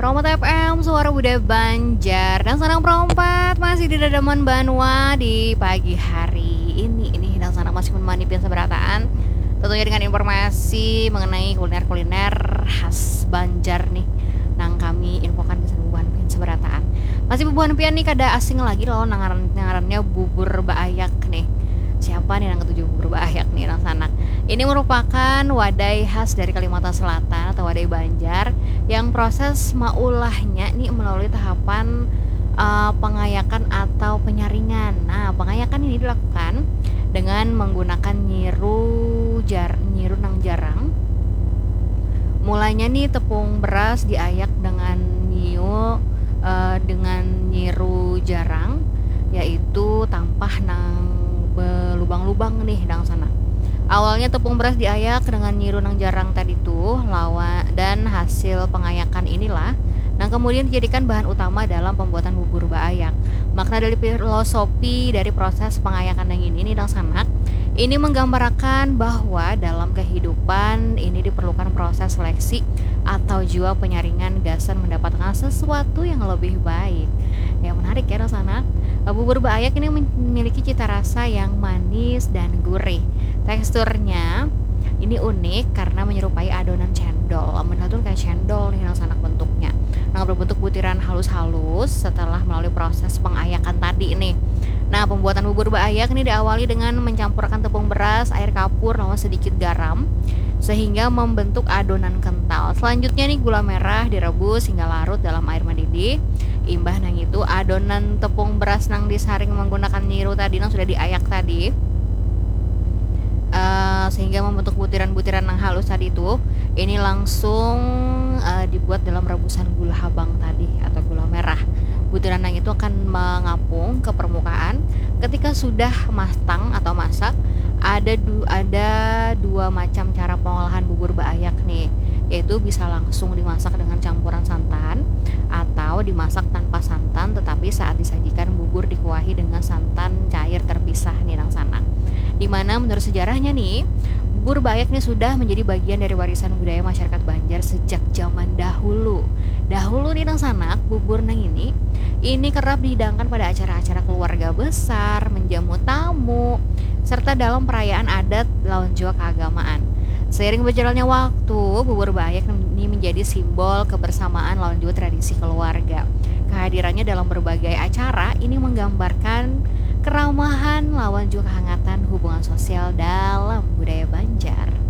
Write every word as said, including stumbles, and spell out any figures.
Romot F M, suara budaya Banjar. Dangsanak perompat masih di dadaman banua di pagi hari ini. Ini dangsanak masih menemani pian sabarataan. Tentunya dengan informasi mengenai kuliner-kuliner khas Banjar nih, nang kami infokan gasan bubuhan pian sabarataan. Masih bubuhan pian nih kada asing lagi lawan nang ngaran, nang ngarannya bubur baayak nih. Siapa nih nang katuju bubur baayak nih, dangsanak? Ini merupakan wadai khas dari Kalimantan Selatan atau wadai Banjar yang proses maulahnya nih melalui tahapan, eh, pengayakan atau penyaringan. Nah, pengayakan ini dilakukan dengan menggunakan nyiru jar-, nyiru nang jarang. Mulanya nih tepung beras diayak dengan nyiu, eh, dengan nyiru jarang, yaitu tampah nang belubang-lubang nih, dangsanak. Awalnya tepung beras diayak dengan nyiru nang jarang tadi tuh, lawan, dan hasil pengayakan inilah nang kemudian dijadikan bahan utama dalam pembuatan bubur baayak. Makna dari filosofi dari proses pengayakan nang ini nih, dangsanak, ini menggambarakan bahwa dalam kehidupan ini diperlukan proses seleksi atau jua penyaringan gasan mendapatkan sesuatu yang lebih baik. Yang menarik ya, dangsanak. Bubur baayak ini memiliki cita rasa yang manis dan gurih. Teksturnya ini unik karena menyerupai adonan cendol. Lamun tuh kayak cendol nih, dangsanak, bentuknya. Nah, berbentuk butiran halus-halus setelah melalui proses pengayakan tadi nih. Nah, pembuatan bubur baayak ini diawali dengan mencampurkan tepung beras, air kapur, lawan sedikit garam sehingga membentuk adonan kental. Selanjutnya nih, gula merah direbus hingga larut dalam air mendidih. Imbah nang itu, adonan tepung beras nang disaring menggunakan nyiru tadi, nang sudah diayak tadi, eh, sehingga membentuk butiran-butiran nang halus tadi itu, ini langsung, eh, dibuat dalam rebusan gula habang tadi atau gula merah. Butiran nang itu akan mengapung ke permukaan. Ketika sudah matang atau masak, ada du-, ada dua macam cara pengolahan bubur baayak nih, yaitu bisa langsung dimasak dengan campuran santan atau dimasak tanpa santan, tetapi saat disajikan bubur dikuahi dengan santan cair terpisah nih, dangsanak. Dimana menurut sejarahnya nih, bubur baayak nih sudah menjadi bagian dari warisan budaya masyarakat Banjar sejak zaman dahulu. Dahulu nih, dangsanak, bubur nang ini, ini kerap dihidangkan pada acara-acara keluarga besar, menjamu tamu, serta dalam perayaan adat lawan jua keagamaan. Seiring berjalannya waktu, bubur baayak ini menjadi simbol kebersamaan lawan jua tradisi keluarga. Kehadirannya dalam berbagai acara ini menggambarkan keramahan lawan jua kehangatan hubungan sosial dalam budaya Banjar.